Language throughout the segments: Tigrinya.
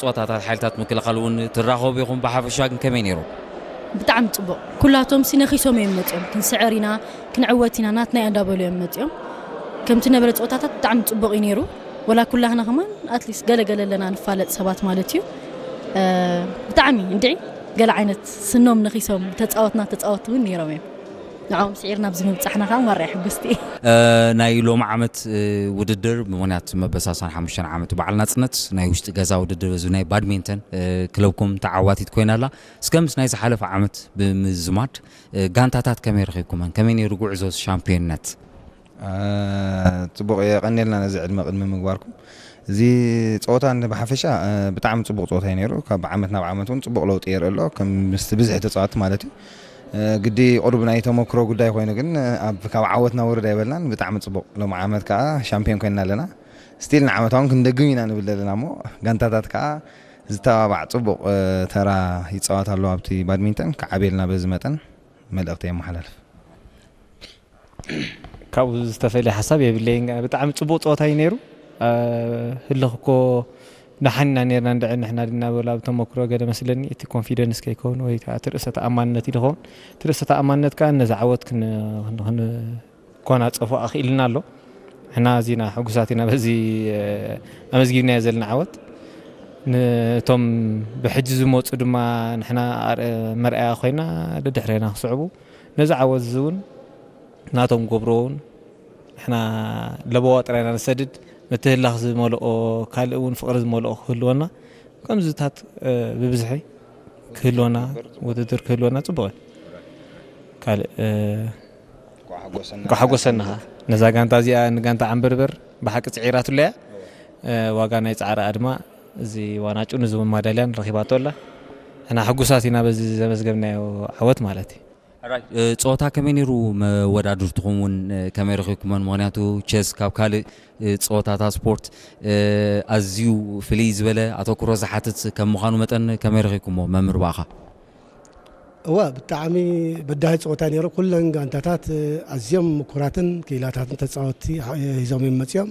ጸወታታት ሓይልታት ምክልኻል እውን ትራኸቡ ኢኹም። ብሓፈሻ ግን ከመይ ነይሩ? ብጣዕሚ ጽቡቕ። ኩላቶም ሲ ነኺሶም እዮም መጺኦም። ክንስዕር ኢና፣ ክንዕወት ኢና፣ ናትና እያ እንዳበሉ እዮም መጺኦም። ከምቲ ነበረ ጸወታታት ብጣዕሚ ጽቡቕ እዩ ነይሩ። ወላ ኩላህና ከማን ኣትሊስት ገለ ገለ ኣለና ንፋለጥ ሰባት ማለት እዩ። እ፣ ብጣዕሚ እንድዒ ገለ ዓይነት ስኖም ነኺሶም ተጻወትና ተጻወት እውን ነይሮም እዮም። ንዕኦም ስዒርና ኣብዚ ምብጻሕና ከዓ ማራ ሕጉስቲ እየ። ናይ ሎሚ ዓመት ውድድር ብምኽንያት መበሳሳን ሓሙሽተ ዓመት በዓል ናፅነት ናይ ውሽጢ ገዛ ውድድር እዚ ናይ ባድሚንተን ክለብኩም ተዓዋቲት ኮይና ኣላ። እስከ ምስ ናይ ዝሓለፈ ዓመት ብምዝማድ ጋንታታት ከመይ ረኺብኩመን? ከመይ ነይሩ ጉዕዞ ሻምፒዮንነት? ጽቡቕ፣ የቐንየልና ነዚ ዕድመ ቅድሚ ምግባርኩም። እዚ ጸወታ እንደ ብሓፈሻ ብጣዕሚ ጽቡቕ ጸወታ እዩ ነይሩ። ካብ ዓመት ናብ ዓመት እውን ጽቡቕ ለውጢ የርኢ ኣሎ፣ ከም ምስቲ ብዝሒ ተጻወትቲ ማለት እዩ። ግዲ ቁሩብ ናይ ተመክሮ ጉዳይ ኮይኑ ግን ኣብ ካብ ዓወት ናብ ውርድ ኣይበልናን። ብጣዕሚ ጽቡቕ። ሎም ዓመት ከዓ ሻምፒዮን ኮይንና ኣለና። ስቲል ንዓመት እውን ክንደግም ኢና ንብል ዘለና እሞ ጋንታታት ከዓ ዝተባባዕ ጽቡቕ ተራ ይጻወት ኣሎ ኣብቲ ባድሚንተን። ክዓብየልና በዚ መጠን መልእኽቲ የመሓላልፍ። ካብኡ ዝተፈልየ ሓሳብ የብለይን። ብጣዕሚ ጽቡቕ ጸወታ እዩ ነይሩ። ህልኽ እኮ ደሓን ኢና ነርና እንድዒ ንሕና ድና በሉ ኣብ ተመክሮ ገለ መስለኒ እቲ ኮንፊደንስ ከይከውን ወይ ከዓ እቲ ርእሰ ተኣማንነት እዩ ዝኸውን። እቲ ርእሰ ተኣማንነት ከዓ ነዚ ዓወት ክንጎናፀፎ ኣኽኢልና ኣሎ። ንሕና ኣዚና ሕጉሳት ኢና በዚ ኣመዝጊብናዮ ዘለና ዓወት። ነቶም ብሕጂ ዝመፁ ድማ ንሕና መርኣያ ኮይና ደድሕሬና ክስዕቡ ነዚ ዓወት እዚ እውን ናቶም ገብሮ እውን ንሕና ለበዋ ጥራይና ንሰድድ። ምትህላኽ ዝመልኦ ካልእ እውን ፍቕሪ ዝመልኦ ክህልወና ከምዚታት ብብዝሒ ክህልወና ውድድር ክህልወና ፅቡቕ እዩ። ካልእ ኳሓጎሰና ኸ ነዛ ጋንታ እዚኣ ንጋንታ ዓንበርበር ብሓቂ ፅዒራትለያ ዋጋ ናይ ፃዕራኣ ድማ እዚ ዋናጩ ንዚ ማዳልያን ረኪባቶ ኣላ። ሕና ሕጉሳት ኢና በዚ ዘመዝገብናዮ ዓወት ማለት እዩ። ጸወታ ከመይ ነይሩ? መወዳድርትኹም እውን ከመይ ረኺብኩመን? ምኽንያቱ ቸስ ካብ ካልእ ጸወታታት ስፖርት ኣዝዩ ፍልይ ዝበለ ኣተኩሮ ዝሓትት ከም ምዃኑ መጠን ከመይ ረኺብኩሞ? መምህር ብኣኻ። እወ፣ ብጣዕሚ በዳሂ ጸወታ ነይሩ። ኩለን ጋንታታት ኣዝዮም ምኩራትን ክኢላታትን ተጻወትቲ ሒዞም እዮም መጺኦም።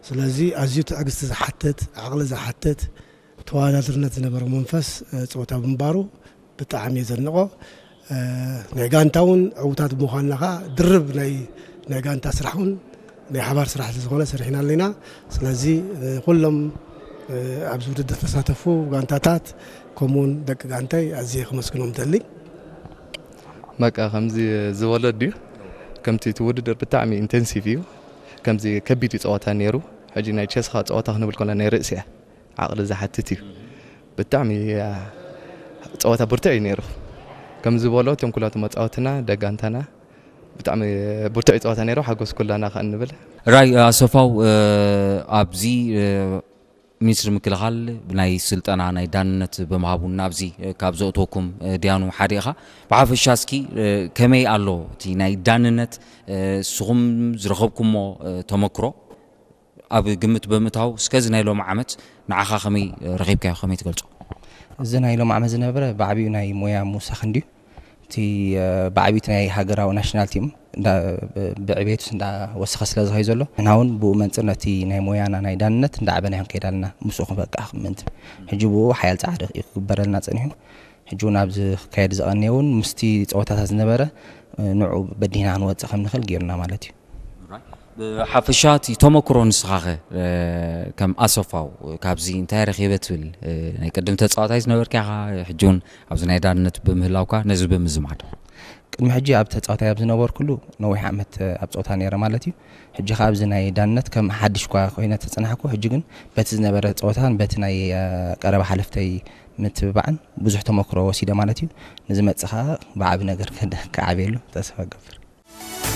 ስለዚ ኣዝዩ ትዕግስቲ ዝሓትት፣ ዓቕሊ ዝሓትት፣ ተወዳዳርነት ዝነበሮ መንፈስ ጸወታ ብምንባሩ ብጣዕሚ እየ ዘድንቖ። ናይ ጋንታ እውን ዕዉታት ብምዃንና ከዓ ድርብ ናይ ናይ ጋንታ ስራሕ እውን ናይ ሓባር ስራሕ ስለዝኾነ ሰሪሕና ኣለና። ስለዚ ኩሎም ኣብዚ ውድድር ተሳተፉ ጋንታታት ከምኡውን ደቂ ጋንታይ ኣዝየ ከመስግኖም ደሊ። በቃ ከምዚ ዝበሎ ድዩ? ከምቲ እቲ ውድድር ብጣዕሚ ኢንቴንሲቭ እዩ። ከምዚ ከቢድ እዩ ፀወታ ነይሩ። ሕጂ ናይ ቸስኻ ፀወታ ክንብል ከሎ ናይ ርእሲ እያ ዓቕሊ ዝሓትት እዩ። ብጣዕሚ ፀወታ ብርቱዕ እዩ ነይሩ። ከም ዝበሎ እቶም ኩላቶም መፃወትና ደጋንታና ብጣዕሚ ብርቱዕ እዩ ፀወታ ነይሩ። ሓጎስ ኩላና ከ እንብል። ራይ ኣሰፋው ኣብዚ ሚኒስትሪ ምክልኻል ናይ ስልጠና ናይ ዳንነት ብምሃቡ ናብዚ ካብ ዘእተወኩም ድያኑ ሓደ ኢኻ። ብሓፈሻ እስኪ ከመይ ኣሎ እቲ ናይ ዳንነት ንስኹም ዝረኸብኩሞ ተመክሮ ኣብ ግምት ብምእታው እስከ እዚ ናይ ሎሚ ዓመት ንዓኻ ከመይ ረኺብካዮ ከመይ ትገልጾ? እዚ ናይ ሎም ዓመት ዝነበረ ብዓብዩ ናይ ሞያ ምውሳኽ እንድዩ። እቲ ብዓብዩ እቲ ናይ ሃገራዊ ናሽናል ቲም ብዕቤቱስ እንዳወሰኸ ስለ ዝኸይ ዘሎ ንሕና እውን ብኡ መንፅር ነቲ ናይ ሞያና ናይ ዳንነት እንዳዕበና ይንከይድ ኣለና። ምስኡ ክንበቅዕ ምእንቲ ሕጂ ብኡ ሓያል ፃዕሪ እዩ ክግበረልና ፀኒሑ። ሕጂ እውን ኣብዚ ክካየድ ዝቐንየ እውን ምስቲ ፀወታታት ዝነበረ ንዑ በዲህና ክንወፅእ ከም ንኽእል ገይሩና ማለት እዩ። ብሓፈሻ እቲ ተመክሮ ንስኻኸ ከም ኣሰፋው ካብዚ እንታይ ረኺበ ትብል? ናይ ቅድም ተፃዋታይ ዝነበርካ ኢኻ፣ ሕጂ እውን ኣብዚ ናይ ዳንነት ብምህላውካ ነዚ ብምዝማድ። ቅድሚ ሕጂ ኣብ ተፃዋታይ ኣብ ዝነበርኩሉ ነዊሕ ዓመት ኣብ ፀወታ ነይረ ማለት እዩ። ሕጂ ከዓ ኣብዚ ናይ ዳንነት ከም ሓድሽ እኳ ኮይነ ተፅናሕኩ፣ ሕጂ ግን በቲ ዝነበረ ፀወታን በቲ ናይ ቀረባ ሓለፍተይ ምትብባዕን ብዙሕ ተመክሮ ወሲደ ማለት እዩ። ንዝመፅእ ከዓ ብዓቢ ነገር ክዓብየሉ ተስፋ እገብር።